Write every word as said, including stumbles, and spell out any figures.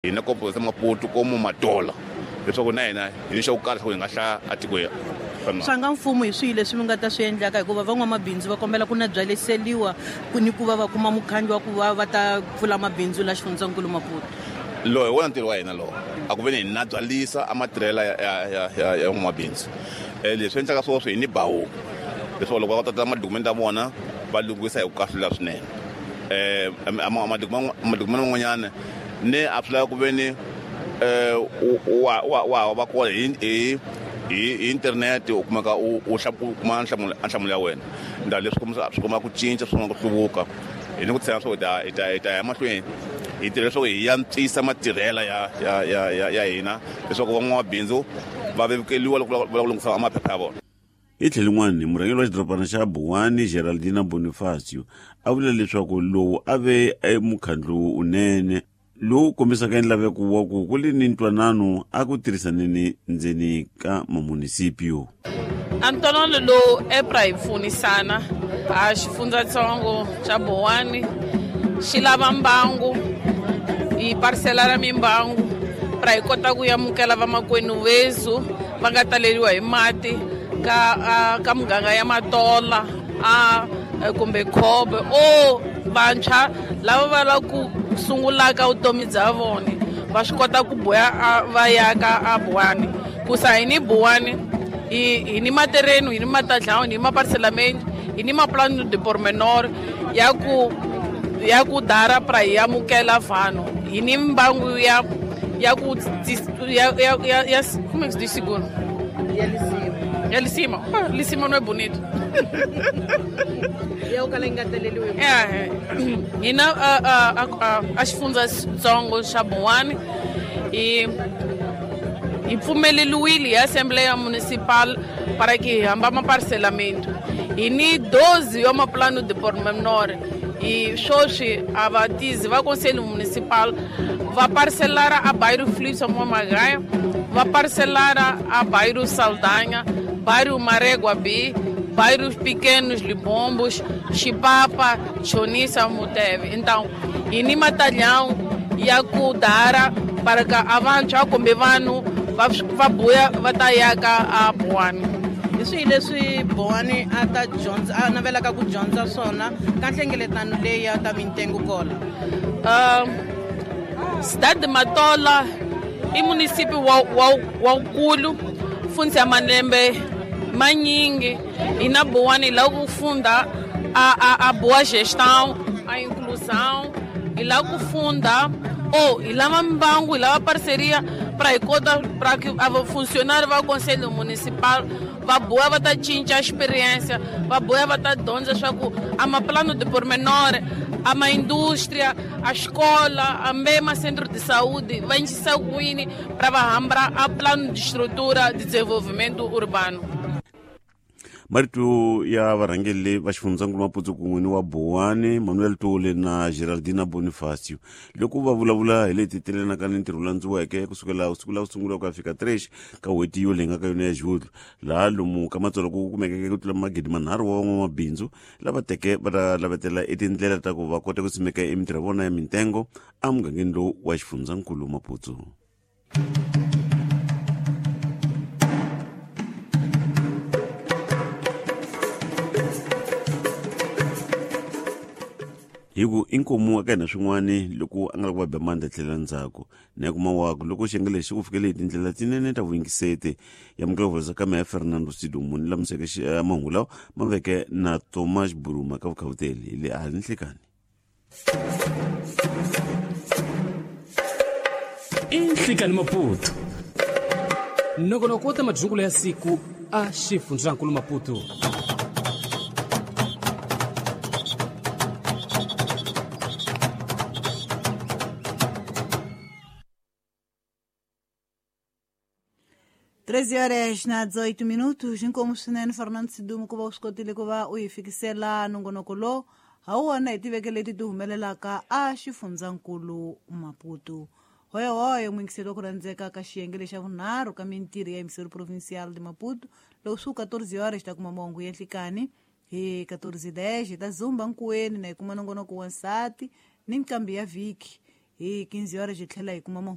Hina ko Maputo como Matola leswaku na hina hi ni xa ku karhi leswaku hi nga hlaya atikweni. Swa nga mfumo hi swihi leswi mi nga ta swi endlaka hikuva van'wamabindzu va kombela ku na byaleseliwa ku ni ku va va kuma mukhandlu wa ku va va ta pfula mabindzu la xifundzankulu Maputo. Lowu hi wona ntirho wa hina lowo a ku ve ni hi na byalisa a matirhela ya ya ya ya n'wamabindzu. Leswi endlaka sweswo hi ni bawu leswaku loko va tata madokumenti ya vona va lunghisa hi ku kahlula swinene. Madokumenti man'wanyana ni a swi lava ku ve ni wa wa wa va kona hi hi hi internet u kumeka u u kuma nhlamulo nhlamulo ya wena. Ndhawu leswi kombisa swi komba ku cinca swi komba ku hluvuka. Hi ni ku tshemba swa ku hi ta hi ta ya mahlweni hi tirha leswaku hi antswisa matirhela ya ya ya ya hina leswaku van'wamabindzu va vevukeliwa loko va lava ku lunghisa maphepha ya vona. Hi tlhelo rin'wana, murhangeri wa xidorobana xa Buwani Geraldina Bonifacio a vula leswaku lowu a ve mukhandlu wunene lowu kombisaka nlaveko wa ku ku li ni ntwanano a ku tirhisaneni ndzeni ka mamunisipio. A ntwanano lowu EPRA hi pfunisana a xifundzatsongo xa Buwani xi lava mbangu hi parisela ra mimbangu pra hi kota ku amukela vamakwenu vezu va nga taleriwa hi mati ka ka muganga ya Matola a kumbe Khobe o vantshwa lava va lava ku sungulaka vutomi bya vona va swi kota ku boya va ya ka a Buwani ku sa hi ni Buwani hi hi ni matereni hi ni matadlawu hi ni maparcelamento hi ni maplano de pormenor ya ku ya ku dara pra hi amukela vanhu hi ni mbangu ya ya ku ya ya ya como é que se diz seguro ya lisima ya lisima ah, lisima não é bonito. Ya kala yi nga taleriwi. É, hina a a a xifundzatsongo xa Buwani hi hi pfumeleriwile hi Assembleia Municipal para que hi hamba maparcelamento. Hi ni doze ya maplano de pormenor e sweswi a vatizi va Conselho Municipal va parcelara a bairro Filipe Magaia, va parcelara a bairro Saldanha, bairro Marégua B, bairros pequenos Libombos, Chipapa, Chonissa, Muteve. Então, hi ni matalhão ya ku dara para que a vantshwa kumbe vanhu va va buya va ta ya ka a Buwani. Hi swihi leswi Buwani a ta dyondza a navelaka ku dyondza swona ka nhlengeletano leyi ya ta mintengo kola? Uh, Cidade de Matola i município wa wa wukulu fundza malembe manyingi e na Buwani lá ku funda a a a boa gestão, a inclusão e lá ku funda ou e lá mbangu e lá parceria para kota para que a funcionário va conselho municipal va boa va ta cinca a experiência va boa va ta dyondza swa ku a maplano de pormenor a ma indústria a escola a mesma centro de saúde va encisa kwini para va hambra a plano de estrutura de desenvolvimento urbano. Marito ya varhangeri va xifundzankulu Maputo kun'we ni wa Buwani Manuel Tole na Geraldina Bonifacio loko va vulavula hi leti telenaka ni ntirho landziweke kusukela siku la ku sungula ku ya fika tres ka n'hweti yo leyi nga ka yona ya Julho laha lomu ka Matsolo ku kumekeke ku tlula magidi manharhu wa van'wamabindzu lava teke va ta lavetela etindlela ta ku va kota ku simeka emitirho ya vona ya mintengo emugangeni lowu wa xifundzankulu Maputo. Hi ku inkomu eka hina swin'wani loko a nga ri ku va ba mandla tlhela ndzhaku na kuma waku loko xiyenge lexi ku fikele hi tindlela tinene ta vuyingiseti ya mukela ka meya Fernando Sidumo ni lamuseke mahungu lawa ma veke na Thomas Buruma ka vukhawuteli hi le a ni nhlekani. I Nhlikani Maputo nongonoko wo ta madyungulo ya siku a xifundzankulu Maputo. treze horas na dezoito minutos, inkomu swinene Fernando Sidumo ku va u swi kotile ku va u hi fikisela nongonoko lowu ha wona hi tiveke leti ti humelelaka a xifundzankulu Maputo. Hoyohoyo muyingiseri wa ku rhandzeka ka xiyenge lexa vunharhu ka mintirho ya Emissão Provincial de Maputo loko swi ku catorze horas ta kuma mahungu ya nhlikani hi catorze dez hi ta zumba nkuweni na hi kuma nongonoko wa nsati ni nqambi ya vhiki. Hi quinze horas hi tlhela hi kuma